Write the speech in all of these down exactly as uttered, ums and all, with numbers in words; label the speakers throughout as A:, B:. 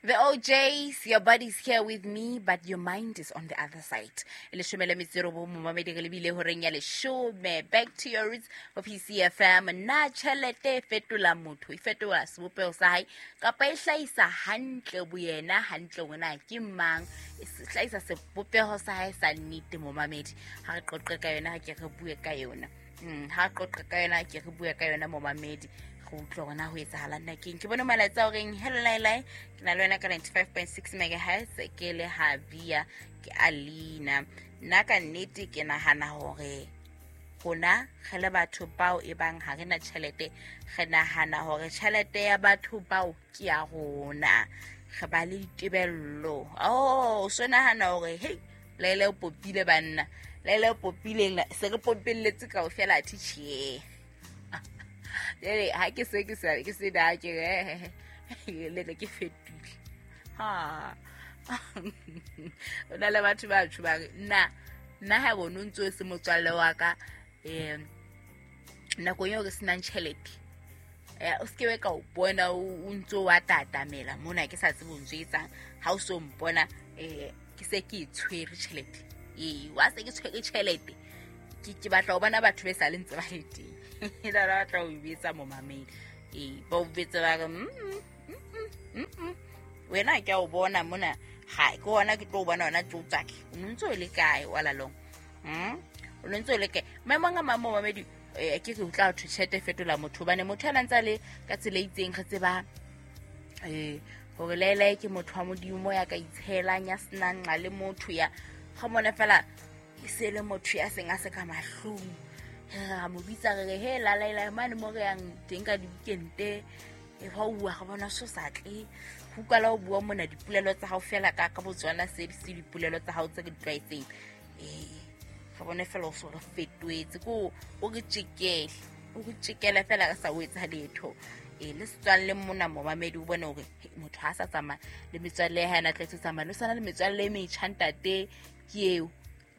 A: The O Js, your body's here with me, but your mind is on the other side. Leshome le metso e robong, momamedi, re lebile horeng ya leshome. Back to your roots of P C F M. Na tjhelete e fetola motho, e fetola sebopeho sa hae, kapa e hlahisa hantle boyena, hantle hore na ke mang, e hlahisa sebopeho sa hae sa nnete, momamedi. Ha re qoqe ka yona, ha ke re bue ka yona. Mm, ha re qoqe ka yona, ke re bue ka yona, momamedi. Go utlwa hore na ho etsahalang na keng. Ke bone molaetsa o reng, hello Lailai, ke na le wena ka ninety-five point six megahertz, ke le Habia, ke Alina. Nna ka nnete ke nahana hore rona re le batho bao e bang ha re na tjhelete, re nahana hore tjhelete ya batho bao ke ya rona. Re ba le ditebello. Oh, so nahana hore hey, Laila o popile banna, Laila o popile, se re popelletse kaofela athe tjhe. Jwale ha ke se ke sa ke se da ke re le ne ke fetile. Ha. O na le batho ba tjho ba re nna nna ha bone o ntso se motswalle wa ka, eh, nako eo re senang tjhelete. Eh, o se ke ka o bona o ntso wa tatamela mona ke sa tsebe o ntso etsang. Ha o so mpona, eh, ke se ke e tshwere tjhelete. Ee, wa se ke tshwere tjhelete. Ke, ke batla ho bona batho be sa le ntse ba le teng. La ba tla o betsa momamedi. Ee, ba o betsa ba re, mm, mm, mm, mm, mm. Wena ke a o bona mona, ha ke hona ke tlo o bona hona tlo tswake. O ntso o le kae wa lalong? Mm? O ntso o le kae? Maemong a mang momamedi, eh, ke re utla ho tjhelete e fetola motho, hobane motho a ntse a le ka tsela e itseng, re tseba, eh, hore Lailai ke motho wa Modimo ya ka itshelang, ya senang nqa le motho ya ga mona fela e se le motho ya seng a se ka mahlong. Re mo bitsa re re, he, la Lailai mane mo re yang teng ka di-weekend-e, e ba o bua ga bona so sa tle. Ho utlwala o bua mona dipolelo tsa hao fela ka, ka Botswana, se di se dipolelo tsa hao tse re di tlwaetseng. Eh, ga bone fela o so re fetoetse, ko o re tjekele, o re tjekele fela re sa o etsa letho. Eh, le setswalle mona momamedi o bone hore, he, motho ha sa tsamaya le metswalle ya hae, a na tlwaetse ho tsamaya, le sana le metswalle e metjha ntate ke eo.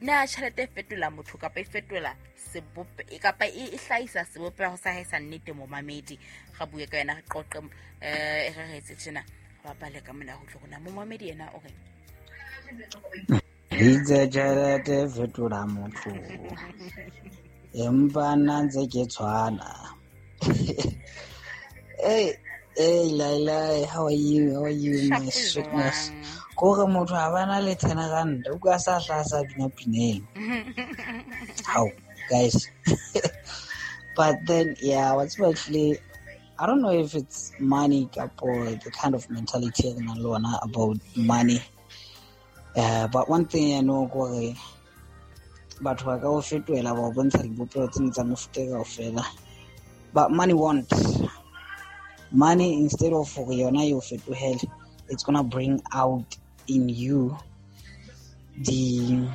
A: Na tjhelete e fetola motho kapa e fetola sebope, e kapa e, e hlahisa sebopeho sa hae sa nnete, momamedi? Re bue ka yona, re qoqe, eh, re re etse tjena, re bapale ka mona ho utlwe rona. Momamedi yena o reng?
B: Itse tjhelete e fetola motho, empa nna ntse ke tshwana. Hey, hey, Lailai, how are you? How are you, my
A: Sharp is
B: sweetness?
A: one.
B: Kore motho ha bana le ten rand, o ka sa hla sa bina pineng. How, guys? But then, yeah, what's actually, I don't know if it's money or the kind of mentality re nang le ona about money. Uh, but one thing I know, kore batho ba ka o fetohela ba o bontsha dibopeho tsena tsa mefuta e kaofela. But money won't. Money, instead of hore yona e o fetohele, it's gonna bring out in you the,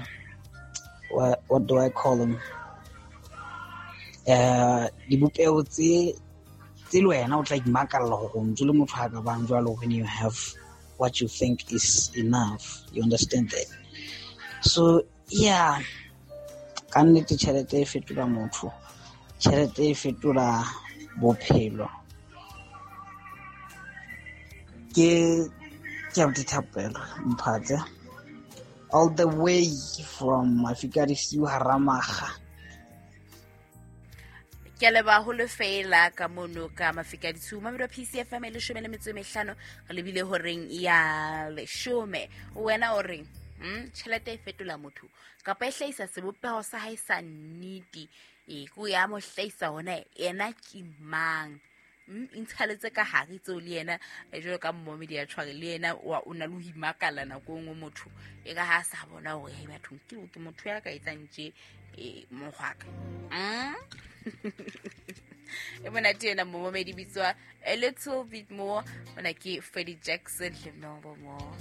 B: what, what do I call them? Uh, dibopeho tse, tse le wena o tla imakalla hore o ntso le motho a ka bang jwalo when you have what you think is enough. You understand that? So, yeah. Ka nnete tjhelete e fetola motho. Tjhelete e fetola bophelo. Ke, ke abuti Thapelo Mphatse, all the way from Mafika Disiu Haramaga.
A: Ke a leboha haholo fela ka mono ka Mafika Disiu. Mamedi wa P C F M e leshome le metso e mehlano, re lebile horeng ya leshome. Wena o reng? Hmm? Tjhelete e fetola motho kapa e hlahisa sebopeho sa hae sa nnete? E, ko ya mo hlahisa hona yena ke mang? Hmm? E ntshalletse ka hare tseo le yena, eh, jwalo ka mmomedi ya tshware le yena, wa, o na le ho imakalla nako e nngwe motho. E ka ha sa bona hore, hei, bathong, ke, ke motho ya ka etsang tje, eh, mokgwaka. Hmm? E monate ena momomedi bitswa A Little Bit More. Mona ke Freddie Jackson le Melba Moore.